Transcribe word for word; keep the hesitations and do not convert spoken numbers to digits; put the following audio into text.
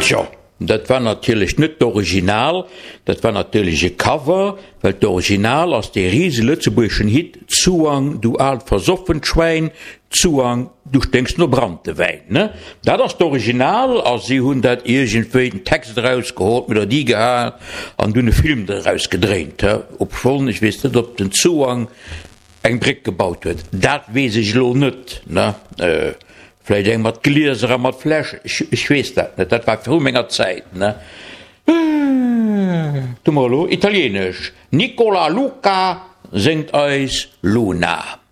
Tjo, dat war natierlech net d'Original, dat war natierlech e Cover, well d'Original ass dee rise lëtzebuergeschen Hit Zuang, du aalt versoffent Schwäin, Zuang, du sténks no Branntewäin. Ne? Dat ass d'Original a si hunn dat iergendwéi den Text erausgeholl, d'Melodie gehaen an dunn e Film doraus gedréint. Obschonn ech weess net, ob den Zuang eng Bréck gebaut huet, dat weess ech elo net. Ne? Vläicht eng mat Glieser a mat Fläsch, ech weess dat net, dat war viru menger Zäit, ne? Tu mer elo Italienesch, Nicola Luca séngt eis Luna.